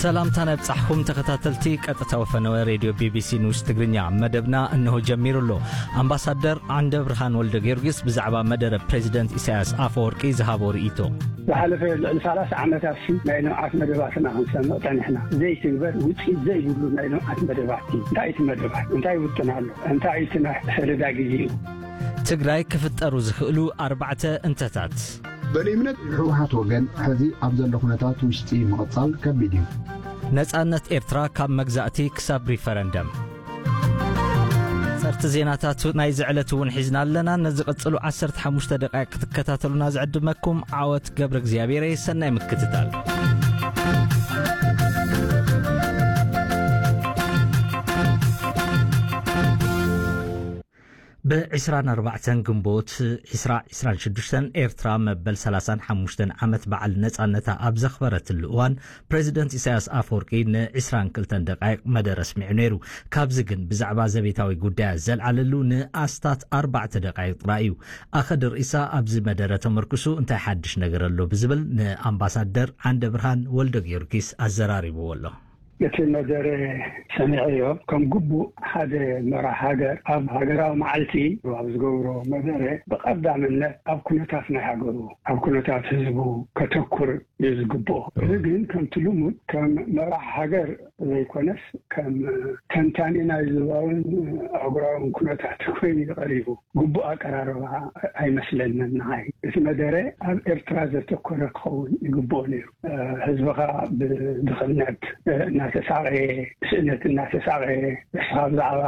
ሰላምታና ይብጻሕኩም ተኸታተልቲ ቀጥታዊ ፈነወ ሬድዮ ቢቢሲ ኒውስ ትግርኛ። መደብና እንሆ ጀሚሩ ኣሎ። ኣምባሳደር ዓንደ ብርሃን ወልደ ጊዮርጊስ ብዛዕባ መደረ ፕሬዚደንት ኢሳያስ ኣፈወርቂ ዝሃቦ ርእይቶ። ዝሓለፈ ልዕሊ ሰላሳ ዓመታት ሲ ናይ ልምዓት መደባትና ክንሰምዕ ጸኒሕና። ዘይትግበር ውጽኢት ዘይብሉ ናይ ልምዓት መደባት እዩ። እንታይ እቲ መደባት? እንታይ ውጥን ኣሎ? እንታይ እቲ ናይ ሰደዳ ግዜ እዩ? ትግራይ ክፍጠሩ ዝኽእሉ ኣርባዕተ እንተታት። በእኔ እምነት ህወሓት ወገን ሕዚ ኣብ ዘሎ ኩነታት ውሽጢ ምቕጻል ከቢድ እዩ። ነጻነት ኤርትራ ካብ መግዛእቲ ክሳብ ሪፈረንደም። ጸርቲ ዜናታት ናይዚ ዕለት እውን ሒዝና ኣለና። ነዚ ቀጽሉ ዓሰርተ ሓሙሽተ ደቃይቅ ክትከታተሉና ዝዕድመኩም ዓወት ገብረ እግዚኣብሔር። ሰናይ ምክትታል። ብ ዕስራን ኣርባዕተን ግንቦት ዕስራ ዕስራን ሽዱሽተን ኤርትራ መበል ሰላሳን ሓሙሽተን ዓመት በዓል ነጻነታ ኣብ ዘኽበረትሉ እዋን፣ ፕሬዚደንት ኢሳያስ ኣፈወርቂ ንዕስራን ክልተን ደቃይቕ መደረ ኣስሚዑ ነይሩ። ካብዚ ግን ብዛዕባ ዘቤታዊ ጉዳያት ዘልዓለሉ ንኣስታት ኣርባዕተ ደቃይቕ ጥራይ እዩ። ኣኸ ድርኢሳ ኣብዚ መደረ ተመርኩሱ እንታይ ሓድሽ ነገር ኣሎ ብዝብል ንኣምባሳደር ዓንደ ብርሃን ወልደ ጊዮርጊስ ኣዘራሪብዎ ኣሎ። እቲ መደረ ሰሚዐዮ። ከም ግቡእ ሓደ መራሕ ሃገር ኣብ ሃገራዊ መዓልቲ ኣብ ዝገብሮ መደረ ብቐዳምነት ኣብ ኩነታት ናይ ሃገሩ፣ ኣብ ኩነታት ህዝቡ ከተኩር እዩ ዝግብኦ። እዚ ግን ከምቲ ልሙድ ከም መራሕ ሃገር ዘይኮነስ ከም ተንታኒ ናይ ዞባውን ኣህጉራውን ኩነታት ኮይኑ እዩ ቀሪቡ። ግቡእ ኣቀራርባ ኣይመስለንን ንዓይ። እቲ መደረ ኣብ ኤርትራ ዘተኮረ ክኸውን ይግብኦ ነይሩ። ህዝብኻ ብድኽነት እናተሳቐየ፣ ብስእነት እናተሳቐየ፣ ንስኻ ብዛዕባ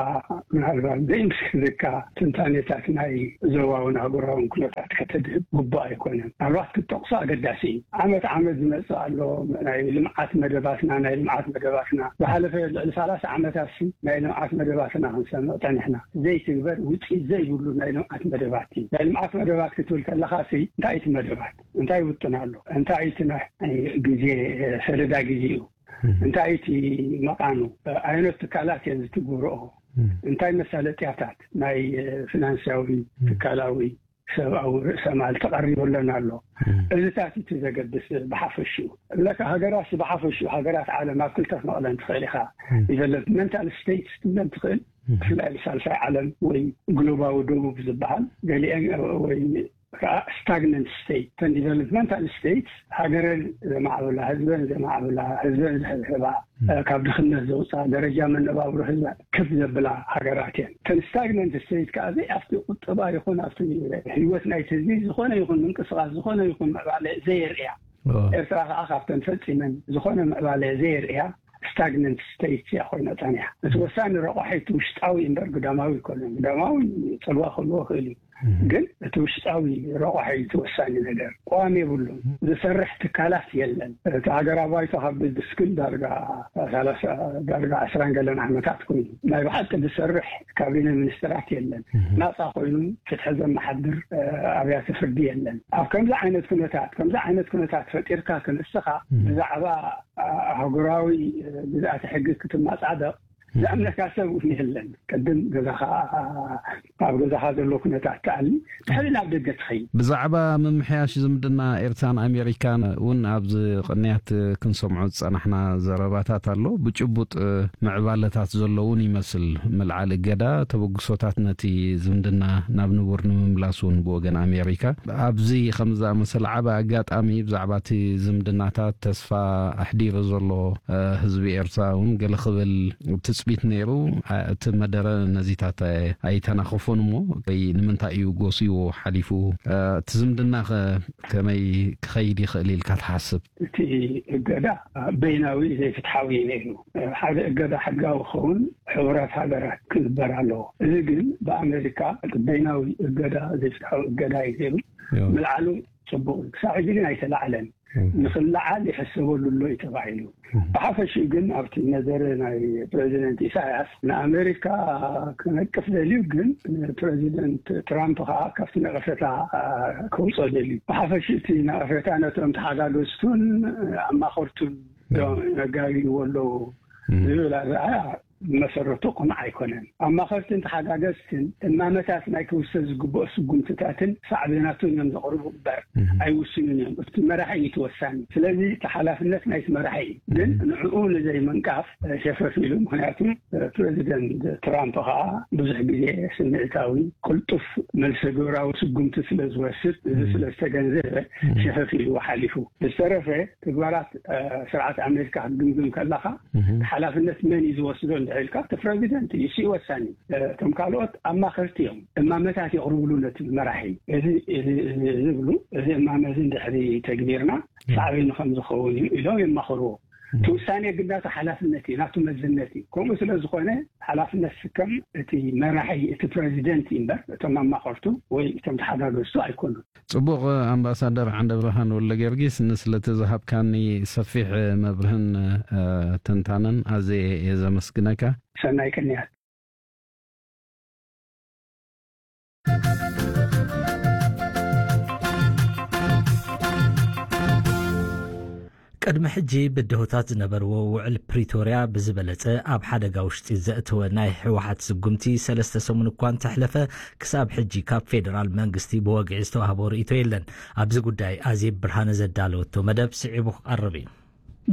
ምናልባት ዘይምስክርካ ትንታኔታት ናይ ዞባውን ኣህጉራውን ኩነታት ከተድህብ ግቡእ ኣይኮነን። ምናልባት ክትጠቕሶ ኣገዳሲ እዩ። ዓመት ዓመት ዝመጽእ ኣሎ፣ ናይ ልምዓት መደባትና፣ ናይ ልምዓት መደባትና። ዝሓለፈ ልዕሊ ሰላሳ ዓመታት ሲ ናይ ልምዓት መደባትና ክንሰምዕ ጸኒሕና። ዘይትግበር ውጽኢት ዘይብሉ ናይ ልምዓት መደባት እዩ። ናይ ልምዓት መደባት ክትብል ከለኻ ሲ እንታይ እቲ መደባት? እንታይ ውጥን ኣሎ? እንታይ እቲ ናይ ግዜ ሰደዳ ግዜ እዩ? እንታይ እቲ መቓኑ? ኣየኖት ትካላት እየን ዝትግብርኦ? እንታይ መሳለጥያታት ናይ ፊናንሳዊ፣ ትካላዊ፣ ሰብኣዊ ርእሰ ማል ተቐሪበለን ኣሎ? እዚታት እቲ ዘገድስ ብሓፈሽኡ። እብለካ ሃገራት ብሓፈሽኡ፣ ሃገራት ዓለም ኣብ ክልተ ክመቕለን ትኽእል ኢኻ። ዲቨሎፕመንታል ስቴትስ ትብለን ትኽእል፣ ብፍላይ ሳልሳይ ዓለም ወይ ግሎባዊ ደቡብ ዝበሃል፣ ገሊአን ወይ ከዓ ስታግነንት ስቴት። እተን ዲቨሎፕመንታል ስቴትስ ሃገረን ዘማዕብላ፣ ህዝበን ዘማዕብላ፣ ህዝበን ዘሕብሕባ፣ ካብ ድኽነት ዘውፅኣ፣ ደረጃ መነባብሮ ህዝበን ክፍ ዘብላ ሃገራት እየን። እተን ስታግነንት ስቴት ከዓ ዘይ ኣብቲ ቁጠባ ይኹን ኣብቲ ህይወት ናይቲ ህዝቢ ዝኾነ ይኹን ምንቅስቃስ፣ ዝኾነ ይኹን ምዕባለ ዘየርእያ። ኤርትራ ከዓ ካብተን ፈፂመን ዝኾነ ምዕባለ ዘየርእያ ስታግነንት ስቴት እያ ኮይና ጸኒሓ። እቲ ወሳኒ ረቋሒ እቲ ውሽጣዊ እምበር ግዳማዊ ኣይኮነን። ግዳማዊ ጽልዋ ክህልዎ ይኽእል እዩ። ግን እቲ ውሽጣዊ ረቋሒ እዩ እቲ ወሳኒ ነገር። ቅዋም የብሉን። ዝሰርሕ ትካላት የለን። እቲ ሃገራዊ ባይቶ ካብ ድስክል ዳርጋ ሰላሳ፣ ዳርጋ ዕስራን ገለን ዓመታት ኮይኑ ናይ ብሓቂ ዝሰርሕ ካቢነ ሚኒስትራት የለን። ናጻ ኮይኑ ፍትሒ ዘመሓድር ኣብያተ ፍርዲ የለን። ኣብ ከምዚ ዓይነት ኩነታት፣ ከምዚ ዓይነት ኩነታት ፈጢርካ ክንስኻ ብዛዕባ ኣህጉራዊ ግዝኣተ ሕጊ ክትመጻደቕ ዝኣምነካ ሰብ እውን የለን። ቅድም ገዛኻ፣ ኣብ ገዛኻ ዘሎ ኩነታት ትኣሊ፣ ድሕሪ ናብ ደገ ትኸይድ። ብዛዕባ ምምሕያሽ ዝምድና ኤርትራን ኣሜሪካን እውን ኣብዚ ቅንያት ክንሰምዖ ዝጸናሕና ዘረባታት ኣሎ። ብጭቡጥ ምዕባለታት ዘሎ እውን ይመስል። ምልዓል እገዳ፣ ተበግሶታት ነቲ ዝምድና ናብ ንቡር ንምምላስ እውን ብወገን ኣሜሪካ። ኣብዚ ከም ዝኣመሰለ ዓቢ ኣጋጣሚ ብዛዕባ እቲ ዝምድናታት ተስፋ ኣሕዲሩ ዘሎ፣ እ፣ ህዝቢ ኤርትራ እውን ገለ ክብል ትጽቢት ነይሩ። እ፣ እቲ መደረ ነዚታት ኣይ-፣ ኣይተናኸፎን እሞ፣ ወይ ንምንታይ እዩ ጎስይዎ ሓሊፉ? እ፣ እቲ ዝምድና ኸ ከመይ ክኸይድ ይኽእል ኢልካ ትሓስብ? እቲ እገዳ በይናዊ ዘይፍትሓዊ እዩ ነይሩ። ሓደ እገዳ ሕጋዊ ክኸውን ሕቡራት ሃገራት ክግበር ኣለዎ። እዚ ግን ብኣሜሪካ በይናዊ እገዳ ዘይፍትሓዊ እገዳ እዩ ነይሩ። ምልዓሉ ጽቡቕ እዩ። ክሳብ ሕጂ ግን ኣይተላዕለን። ንኽለዓል ይሕሰበሉ ኣሎ እዩ ተባሂሉ። ብሓፈሽኡ ግን ኣብቲ መደረ ናይ ፕሬዚደንት ኢሳያስ ንኣሜሪካ ክነቅፍ ደልዩ፣ ግን ፕሬዚደንት ትራምፕ ከዓ ካብቲ ነቐፈታ ከውፅኦ ደልዩ። ብሓፈሽኡ እቲ ነቐፈታ ነቶም ተሓጋገዝቱን ኣማኸርቱን ነጋግይዎ ኣለዉ ዝብል ኣረኣእያ ብመሰረቱ ቅኑዕ ኣይኮነን። ኣማኸርትን ተሓጋገዝትን እማመታት ናይ ክውሰድ ዝግብኦ ስጉምትታትን ሳዕቤናቱን እዮም ዘቕርቡ እምበር ኣይውስኑን እዮም። እቲ መራሒ እዩ እቲ ወሳኒ። ስለዚ እቲ ሓላፍነት ናይቲ መራሒ እዩ። ግን ንዕኡ ንዘይምንቃፍ ሸፈፍ ኢሉ፣ ምክንያቱ ፕረዚደንት ትራምፕ ከዓ ብዙሕ ግዜ ስምዒታዊ፣ ቅልጡፍ መልሰ ግብራዊ ስጉምቲ ስለ ዝወስድ፣ እዚ ስለ ዝተገንዘበ ሸፈፍ ኢሉ ሓሊፉ። ዝተረፈ ተግባራት ስርዓት ኣሜሪካ ክትግምግም ከለካ ሓላፍነት መን እዩ ዝወስዶ እንድሕር ኢልካ፣ እቲ ፕረዚደንት እዩ፣ እሱ እዩ ወሳኒ። እቶም ካልኦት ኣማኸርቲ እዮም፣ እማመታት የቕርብሉ ነቲ መራሒ። እዚ ዝብሉ፣ እዚ እማመ እዚ እንድሕሪ ተግቢርና ሳዕቤኑ ከም ዝኸውን እዩ ኢሎም የማኽርዎ። እቲ ውሳኔ ግን ናቱ ሓላፍነት እዩ፣ ናቱ መዝነት እዩ። ከምኡ ስለ ዝኾነ ሓላፍነት ስከም እቲ መራሒ፣ እቲ ፕረዚደንት እዩ እምበር እቶም ኣማኸርቱ ወይ እቶም ተሓጋገዝቱ ኣይኮኑን። ጽቡቕ። ኣምባሳደር ዓንደ ብርሃን ወልደ ጊዮርጊስ፣ ንስለቲ ዝሃብካኒ ሰፊሕ መብርህን ትንታነን ኣዝየ እየ ዘመስግነካ። ሰናይ ቅንያት። ቅድሚ ሕጂ ብድሆታት ዝነበርዎ ውዕል ፕሪቶርያ ብዝበለጸ ኣብ ሓደጋ ውሽጢ ዘእተወ ናይ ህወሓት ስጉምቲ ሰለስተ ሰሙን እኳ እንተሕለፈ፣ ክሳብ ሕጂ ካብ ፌደራል መንግስቲ ብወግዒ ዝተዋህቦ ርእይቶ የለን። ኣብዚ ጉዳይ ኣዜብ ብርሃነ ዘዳለወቶ መደብ ስዒቡ ክቐርብ እዩ።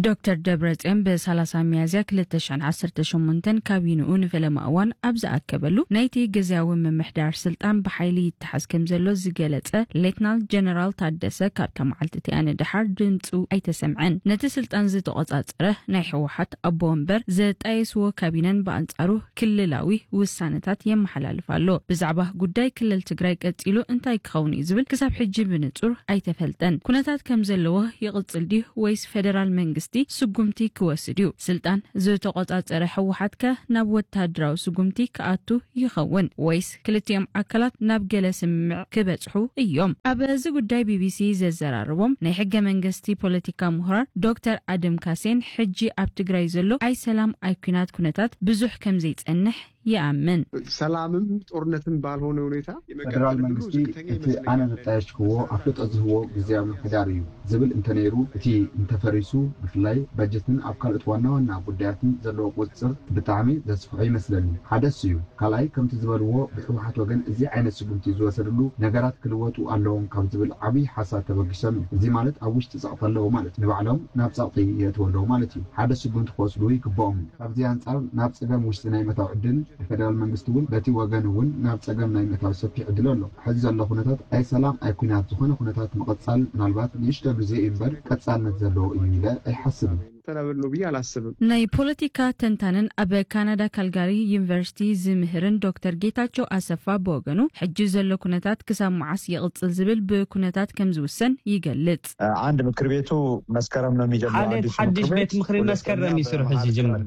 ዶክተር ደብረጽዮን ብ30 ሚያዝያ ክልተ ሽሕን ዓሰርተ ሸሞንተን ካቢንኡ ንፈለማ እዋን ኣብ ዝኣከበሉ፣ ናይቲ ግዝያዊ ምምሕዳር ስልጣን ብሓይሊ ይተሓዝ ከም ዘሎ ዝገለጸ ሌትናል ጀነራል ታደሰ፣ ካብታ መዓልቲ እቲኣ ንደሓር ድምጹ ኣይተሰምዐን። ነቲ ስልጣን ዝተቖጻጸረ ናይ ህወሓት ኣቦ ወንበር ዘጣየስዎ ካቢነን ብኣንጻሩ ክልላዊ ውሳነታት የመሓላልፍ ኣሎ። ብዛዕባ ጉዳይ ክልል ትግራይ ቀጺሉ እንታይ ክኸውን እዩ ዝብል ክሳብ ሕጂ ብንጹር ኣይተፈልጠን። ኩነታት ከም ዘለዎ ይቕጽል ድዩ ወይስ ፌደራል መንግስቲ ስጉምቲ ክወስድ እዩ? ስልጣን ዝተቖጻጸረ ህወሓት ከ ናብ ወታደራዊ ስጉምቲ ክኣቱ ይኸውን ወይስ ክልቲኦም ኣካላት ናብ ገለ ስምምዕ ክበጽሑ እዮም? ኣብ እዚ ጉዳይ ቢቢሲ ዘዘራረቦም ናይ ሕገ መንግስቲ ፖለቲካ ምሁራን ዶክተር ኣደም ካሴን፣ ሕጂ ኣብ ትግራይ ዘሎ ኣይ ሰላም ኣይ ኩናት ኩነታት ብዙሕ ከም ዘይጸንሕ ይኣምን። ሰላምም ጦርነትም ባልሆነ ሁኔታ ፌደራል መንግስቲ እቲ ኣነ ዘጣየሽክዎ ኣፍልጦ ዝህቦ ግዝያዊ ምምሕዳር እዩ ዝብል እንተነይሩ፣ እቲ እንተፈሪሱ፣ ብፍላይ በጀትን ኣብ ካልኦት ዋና ዋና ጉዳያትን ዘለዎ ቁፅፅር ብጣዕሚ ዘስፍሖ ይመስለኒ። ሓደ እሱ እዩ። ካልኣይ፣ ከምቲ ዝበልዎ፣ ብህወሓት ወገን እዚ ዓይነት ስጉምቲ ዝወሰድሉ ነገራት ክልወጡ ኣለዎም ካብ ዝብል ዓብዪ ሓሳብ ተበጊሶም እዩ። እዚ ማለት ኣብ ውሽጢ ጸቕጢ ኣለዉ ማለት፣ ንባዕሎም ናብ ጸቕጢ የእትዉ ኣለዉ ማለት እዩ። ሓደ ስጉምቲ ክወስዱ ይግብኦም እዩ። ካብዚ ኣንጻር ናብ ጸገም ውሽጢ ናይ ምእታው ዕድል፣ ንፌደራል መንግስቲ እውን በቲ ወገን እውን ናብ ጸገም ናይ ምእታው ሰፊሕ ዕድል ኣሎ። ሕዚ ዘሎ ኩነታት ኣይ ሰላም ኣይ ኩናት ዝኾነ ኩነታት ምቕጻል ምናልባት ንእሽቶ ግዜ እዩ እምበር ቀጻልነት ዘለዎ እዩ ኢለ ኣይሓስብን። ተናበል ነው ብዬ አላስብም። ናይ ፖለቲካ ተንታንን ኣብ ካናዳ ካልጋሪ ዩኒቨርሲቲ ዝምህርን ዶክተር ጌታቸው ኣሰፋ ብወገኑ፣ ሕጂ ዘሎ ኩነታት ክሳብ መዓስ ይቕጽል ዝብል ብኩነታት ከም ዝውሰን ይገልጽ። አንድ ምክር ቤቱ መስከረም ነው የሚጀምረው። ሓደ ሓዲሽ ምክር ቤት መስከረም ይስርሑ ዝጅምር።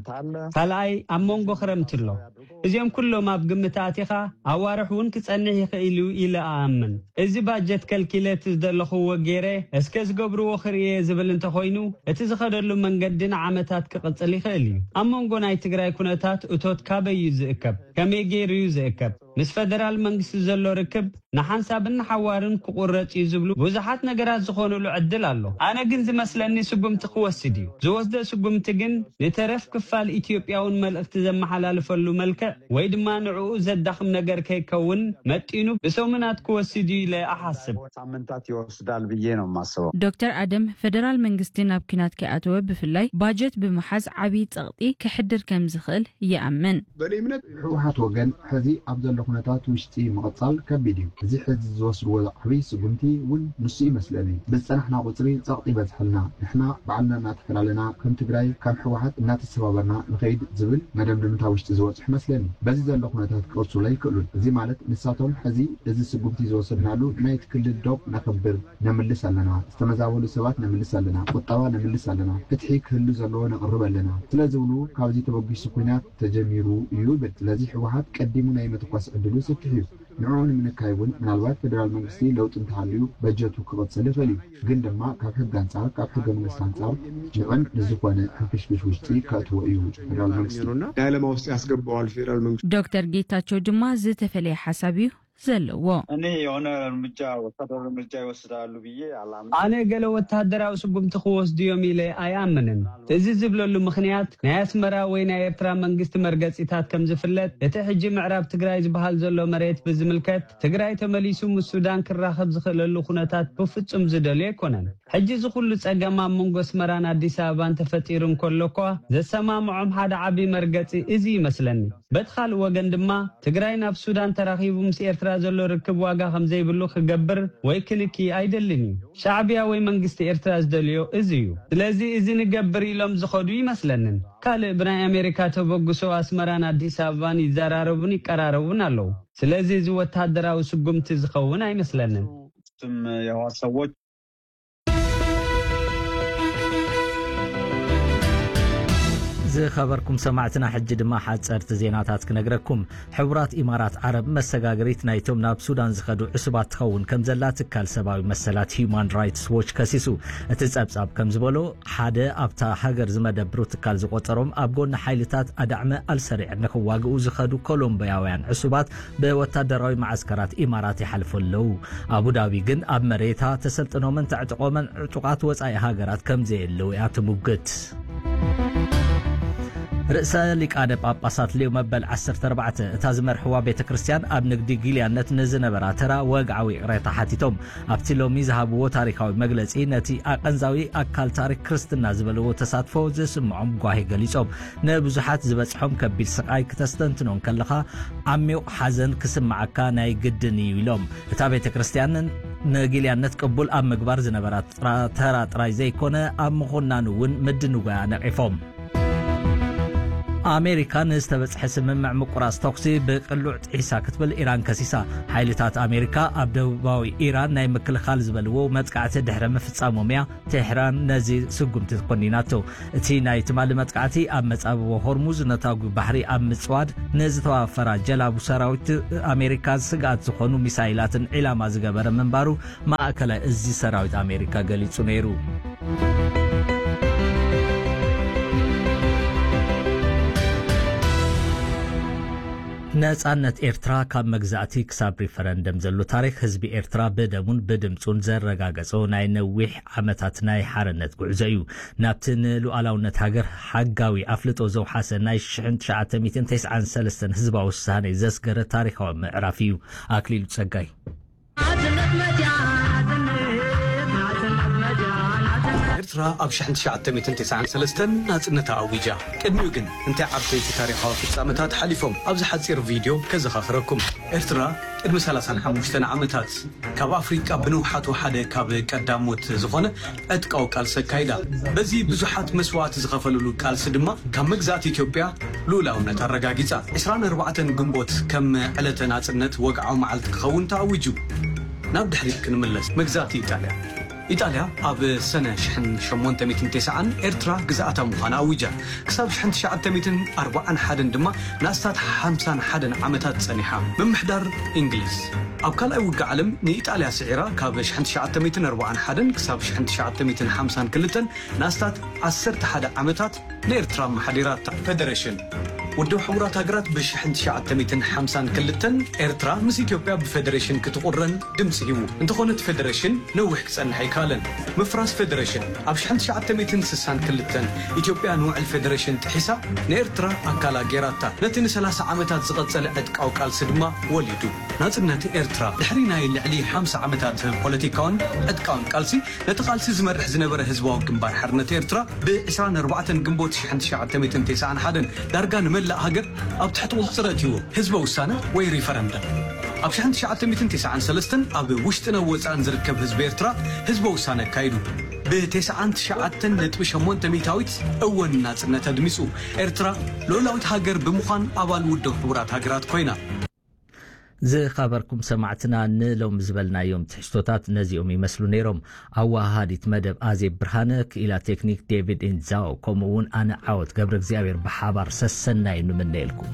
ካልኣይ ኣብ መንጎ ክረምቲ ኣሎ። እዚኦም ኩሎም ኣብ ግምት ኣቲኻ ኣዋርሕ እውን ክጸንሕ ይኽእል እዩ ኢለ እኣምን። እዚ ባጀት ከልኪለ እቲ ዝደለኽዎ ገይረ እስከ ዝገብርዎ ክርእየ ዝብል እንተኾይኑ፣ እቲ ዝኸደሉ መንገዲ ንዓመታት ክቕጽል ይኽእል እዩ። ኣብ መንጎ ናይ ትግራይ ኩነታት እቶት ካበይ እዩ ዝእከብ? ከመይ ገይሩ እዩ ዝእከብ? ምስ ፈደራል መንግስቲ ዘሎ ርክብ ንሓንሳብን ንሓዋርን ክቑረጽ እዩ ዝብሉ ብዙሓት ነገራት ዝኾኑሉ ዕድል ኣሎ። ኣነ ግን ዝመስለኒ ስጉምቲ ክወስድ እዩ። ዝወስዶ ስጉምቲ ግን ንተረፍ ክፋል ኢትዮጵያ እውን መልእኽቲ ዘመሓላልፈሉ መልክዕ ወይ ድማ ንዕኡ ዘዳኽም ነገር ከይከውን መጢኑ ብሰሙናት ክወስድ እዩ ኢለ እሓስብ። ሳምንታት ይወስዳል ብዬ ነው የማስበው። ዶክተር ኣደም፣ ፈደራል መንግስቲ ናብ ኲናት ከይኣተወ ብፍላይ ባጀት ብምሓዝ ዓብዪ ጸቕጢ ከሕድር ከም ዝኽእል ይኣምን። በእኔ እምነት ህወሓት ወገን ሕዚ ኣብ ዘሎ ኩነታት ውሽጢ ምቕጻል ከቢድ እዩ። እዚ ሕዚ ዝወስድዎ ዓብዪ ስጉምቲ እውን ንሱ ይመስለኒ። ብዝጸናሕና ቁጽሪ ጸቕጢ ይበዝሐልና። ንሕና ባዕልና እናተፈላለና ከም ትግራይ ከም ህወሓት እናተሰባበርና ንኸይድ ዝብል መደምደምታ ውሽጢ ዝበጽሑ ይመስለኒ። በዚ ዘሎ ኩነታት ክቕጽሉ ኣይክእሉን። እዚ ማለት ንሳቶም ሕዚ እዚ ስጉምቲ ዝወሰድናሉ ናይቲ ክልል ዶብ ነኽብር፣ ነምልስ ኣለና፣ ዝተመዛበሉ ሰባት ነምልስ ኣለና፣ ቁጠባ ነምልስ ኣለና፣ ፍትሒ ክህሉ ዘለዎ ነቕርብ ኣለና ስለ ዝብሉ፣ ካብዚ ተበጊሱ ኲናት ተጀሚሩ እዩ ይብል። ስለዚ ህወሓት ቀዲሙ ናይ ምትኳስ ዕድሉ ሰፊሕ እዩ። ንዕኡ ንምንካይ እውን ምናልባት ፌደራል መንግስቲ ለውጢ እንተሃልዩ በጀቱ ክቕጽል ይኽእል እዩ። ግን ድማ ካብ ሕጊ ኣንጻር፣ ካብ ሕገ መንግስቲ ኣንጻር ንዕን ንዝኾነ ሕንፍሽፍሽ ውሽጢ ከእትዎ እዩ ፌደራል መንግስቲ። ዳይለማ ውስጥ ያስገባዋል ፌደራል መንግስቲ። ዶክተር ጌታቸው ድማ ዝተፈለየ ሓሳብ እዩ ዘለዎ። እኔ የሆነ እርምጃ፣ ወታደራዊ እርምጃ ይወስዳሉ ብዬ አላምንም። ኣነ ገለ ወታደራዊ ስጉምቲ ክወስዱ እዮም ኢለ ኣይኣምንን። እዚ ዝብለሉ ምኽንያት፣ ናይ ኣስመራ ወይ ናይ ኤርትራ መንግስቲ መርገጺታት ከም ዝፍለጥ፣ እቲ ሕጂ ምዕራብ ትግራይ ዝበሃል ዘሎ መሬት ብዝምልከት፣ ትግራይ ተመሊሱ ምስ ሱዳን ክራኸብ ዝኽእለሉ ኩነታት ብፍጹም ዝደልዮ ኣይኮነን። ሕጂ እዚ ኩሉ ጸገም ኣብ መንጎ ኣስመራን ኣዲስ ኣበባን ተፈጢሩ እንከሎ እኳ፣ ዘሰማምዖም ሓደ ዓቢ መርገጺ እዚ ይመስለኒ። በቲ ካልእ ወገን ድማ፣ ትግራይ ናብ ሱዳን ተራኺቡ ምስ ኤርትራ ዘሎ ርክብ ዋጋ ከም ዘይብሉ ክገብር ወይ ክንኪ ኣይደልን እዩ። ሻዕብያ ወይ መንግስቲ ኤርትራ ዝደልዮ እዚ እዩ። ስለዚ እዚ ንገብር ኢሎም ዝኸዱ ይመስለንን። ካልእ ብናይ ኣሜሪካ ተበግሶ ኣስመራን ኣዲስ ኣበባን ይዘራረቡን ይቀራረቡን ኣለዉ። ስለዚ እዚ ወታደራዊ ስጉምቲ ዝኸውን ኣይመስለንን። ስም የህወሓት ሰዎች ዝኸበርኩም ሰማዕትና፣ ሕጂ ድማ ሓጸርቲ ዜናታት ክነግረኩም። ሕቡራት ኢማራት ዓረብ መሰጋገሪት ናይቶም ናብ ሱዳን ዝኸዱ ዕሱባት ትኸውን ከም ዘላ ትካል ሰብኣዊ መሰላት ሂዩማን ራይትስ ዎች ከሲሱ። እቲ ጸብጻብ ከም ዝበሎ፣ ሓደ ኣብታ ሃገር ዝመደብሩ ትካል ዝቖጸሮም ኣብ ጎኒ ሓይልታት ኣዳዕመ ኣልሰሪዕ ንኽዋግኡ ዝኸዱ ኮሎምቢያውያን ዕሱባት ብወታደራዊ መዓስከራት ኢማራት ይሓልፉ ኣለዉ። ኣቡዳቢ ግን ኣብ መሬታ ተሰልጥኖምን ተዕጥቖምን ዕጡቓት ወጻኢ ሃገራት ከም ዘየለዉ እያ ትምጉት። ርእሰ ሊቃነ ጳጳሳት ሊዮ መበል ዓሰርተ ኣርባዕተ እታ ዝመርሕዋ ቤተ ክርስቲያን ኣብ ንግዲ ጊልያነት ንዝነበራ ተራ ወግዓዊ ይቕሬታ ሓቲቶም። ኣብቲ ሎሚ ዝሃብዎ ታሪኻዊ መግለጺ፣ ነቲ ኣቐንዛዊ ኣካል ታሪክ ክርስትና ዝበልዎ ተሳትፎ ዝስምዖም ጓሂ ገሊጾም። ንብዙሓት ዝበጽሖም ከቢድ ስቓይ ክተስተንትኖ እንከለኻ፣ ዓሚቕ ሓዘን ክስምዓካ ናይ ግድን እዩ ኢሎም። እታ ቤተ ክርስቲያን ንጊልያነት ቅቡል ኣብ ምግባር ዝነበራ ጥራ- ተራ ጥራይ ዘይኮነ፣ ኣብ ምኹናኑ እውን ምድንጓያ ነቒፎም። ኣሜሪካ ንዝተበጽሐ ስምምዕ ምቁራጽ ተኹሲ ብቅሉዕ ጥሒሳ ክትብል ኢራን ከሲሳ። ሓይልታት ኣሜሪካ ኣብ ደቡባዊ ኢራን ናይ ምክልኻል ዝበልዎ መጥቃዕቲ ድሕሪ ምፍጻሞም እያ ቴህራን ነዚ ስጉምቲ ኮኒናቶ። እቲ ናይ ትማሊ መጥቃዕቲ ኣብ መጻብቦ ሆርሙዝ ነታጒ ባሕሪ ኣብ ምጽዋድ ንዝተዋፈራ ጀላቡ ሰራዊት ኣሜሪካ ስግኣት ዝኾኑ ሚሳይላትን ዒላማ ዝገበረ ምንባሩ ማእከላይ እዚ ሰራዊት ኣሜሪካ ገሊጹ ነይሩ። ነጻነት ኤርትራ ካብ መግዛእቲ ክሳብ ሪፈረንደም ዘሎ ታሪኽ ህዝቢ ኤርትራ ብደሙን ብድምጹን ዘረጋገጾ ናይ ነዊሕ ዓመታት ናይ ሓርነት ጉዕዞ እዩ። ናብቲ ንሉዓላውነት ሃገር ሓጋዊ ኣፍልጦ ዘውሓሰ ናይ ሽሕን ትሽዓተ ሚእትን ተስዓን ሰለስተን ህዝባዊ ውሳኔ ዘስገረ ታሪኻዊ ምዕራፍ እዩ። ኣክሊሉ ጸጋይ። ኤርትራ ኣብ ሽሕን ትሽዓተ ሚእትን ተስዓን ሰለስተን ናጽነታ ኣዊጃ። ቅድሚኡ ግን እንታይ ዓበይቲ ታሪኻዊ ፍጻመታት ሓሊፎም? ኣብዚ ሓጺር ቪድዮ ከዘኻኽረኩም። ኤርትራ ቅድሚ ሰላሳን ሓሙሽተን ዓመታት ካብ ኣፍሪቃ ብንውሓቱ ሓደ ካብ ቀዳሞት ዝኾነ ዕጥቃዊ ቃልሲ ኣካይዳ። በዚ ብዙሓት መስዋእቲ ዝኸፈልሉ ቃልሲ ድማ ካብ መግዛእቲ ኢትዮጵያ ልኡላውነት ኣረጋጊጻ። ዕስራን ኣርባዕተን ግንቦት ከም ዕለተ ናጽነት ወግዓዊ መዓልቲ ክኸውን ተኣዊጁ። ናብ ድሕሪት ክንምለስ። መግዛእቲ ኢጣልያ። ኢጣልያ ኣብ ሰነ ሽሕን ሸሞንተ ሚእትን ተስዓን ኤርትራ ግዝኣታ ምዃና ኣዊጃ። ክሳብ ሽሕን ትሽዓተ ሚእትን ኣርባዓን ሓደን ድማ ንኣስታት ሓምሳን ሓደን ዓመታት ጸኒሓ። ምምሕዳር እንግሊዝ። ኣብ ካልኣይ ውግእ ዓለም ንኢጣልያ ስዒራ ካብ ሽሕን ትሽዓተ ሚእትን ኣርባዓን ሓደን ክሳብ ሽሕን ትሽዓተ ሚእትን ሓምሳን ክልተን ንኣስታት ዓሰርተ ሓደ ዓመታት ንኤርትራ ኣመሓዲራታ። ፈደረሽን። ውድብ ሕቡራት ሃገራት ብሽሕን ትሽዓተ ሚእትን ሓምሳን ክልተን ኤርትራ ምስ ኢትዮጵያ ብፈደረሽን ክትቑረን ድምጺ ሂቡ። እንተኾነ እቲ ፈደረሽን ነዊሕ ክጸንሕ ኣይከኣለን። ምፍራስ ፈደረሽን ኣብ ሽሕን ትሽዓተ ሚእትን ስሳን ክልተን ኢትዮጵያ ንውዕል ፈደረሽን ጥሒሳ ንኤርትራ ኣካላ ገይራታ። ነቲ ንሰላሳ ዓመታት ዝቐጸለ ዕጥቃዊ ቃልሲ ድማ ወሊዱ። ናጽነት ኤርትራ ድሕሪ ናይ ልዕሊ ሓምሳ ዓመታት ፖለቲካውን ዕጥቃውን ቃልሲ ነቲ ቃልሲ ዝመርሕ ዝነበረ ህዝባዊ ግንባር ሓርነት ኤርትራ ብ ዕስራን ኣርባዕተን ግንቦት ሽሕን ትሽዓተ ሚእትን ተስዓን ሓደን ዳርጋ ንመላእ ሃገር ኣብ ትሕቲ ቁጽጽር ኣእትይዎ። ህዝበ ውሳነ ወይ ሪፈረንደም። ኣብ ሽሕን ትሽዓተ ሚእትን ተስዓን ሰለስተን ኣብ ውሽጥን ኣብ ወጻእን ዝርከብ ህዝቢ ኤርትራ ህዝበ ውሳነ ኣካይዱ። ብ ተስዓን ትሽዓተን ነጥቢ ሸሞንተ ሚእታዊት እወ ንናጽነት ኣድሚጹ። ኤርትራ ልኡላዊት ሃገር ብምዃን ኣባል ውድብ ሕቡራት ሃገራት ኮይና። ዝኸበርኩም ሰማዕትና፣ ንሎሚ ዝበልናዮም ትሕዝቶታት ነዚኦም ይመስሉ ነይሮም። ኣወሃሃዲት መደብ ኣዜብ ብርሃነ፣ ክኢላ ቴክኒክ ዴቪድ ኢንዛው፣ ከምኡ እውን ኣነ ዓወት ገብረ እግዚኣብሔር ብሓባር ሰሰናዩ ንምነየልኩም።